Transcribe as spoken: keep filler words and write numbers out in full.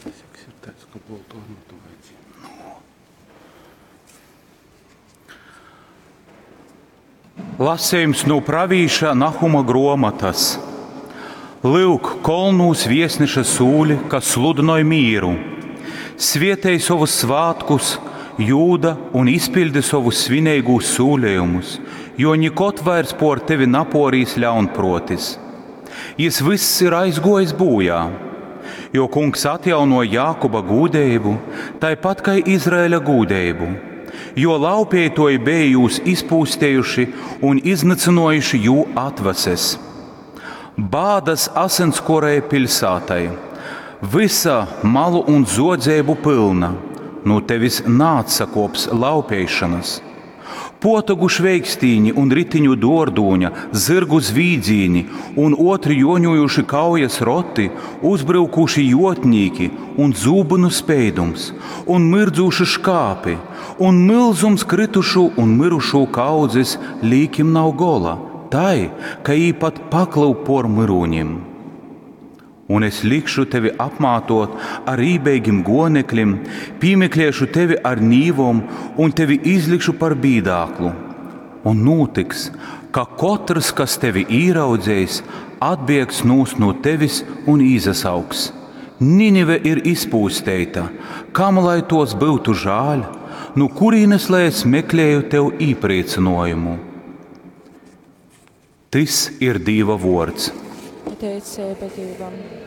Tas ir tāds, ka boltu armatu vajadzēja. Nu. Lasījums no pravīša Nahuma gruomatas. Lyuk, kolnūs viesneša sūļi, kas sludinoj mīru. Svietej sovus svātkus, Jūda, un izpildi sovus svineigūs sūlējumus, jo nikod vairs por tevi naporīs ļaunprotis. Jis vyss ir aizguojis bojā, jo kungs atjauno Jākuba gūdeibu, taipat kai Izraēļa gūdeibu, jo laupītoji bija jūs izpūstējuši un iznycynojuši jū atvases. Bādas asinskorē pilsētai, visa malu un zodzēbu pilna, no tevis nāatsakops laupīšanas. Potagu šveikstīņi un ritiņu dordūņa, zirgu zvīdzīņi un otri joņojuši kaujas roti, uzbrukuši jotnīki un zūbinu speidums, un mirdzūši škāpi, un milzums kritušu un mirušu kaudzes līkim nav gola, tai, ka jī pat pakliu por myrūņim. Un es likšu tevi apmātot ar rībeigim gonekļim, pīmeklēšu tevi ar nīvom un tevi izlikšu par bīdāklu. Un notiks, ka kotrs, kas tevi īraudzējis, atbiegs nūst no tevis un īzasauks. Ninive ir izpūsteita, kam lai tos būtu žāļ, no kurienes lai es meklēju tev īpriecinājumu? Tys ir Dīva vords. Pateicība Dievam.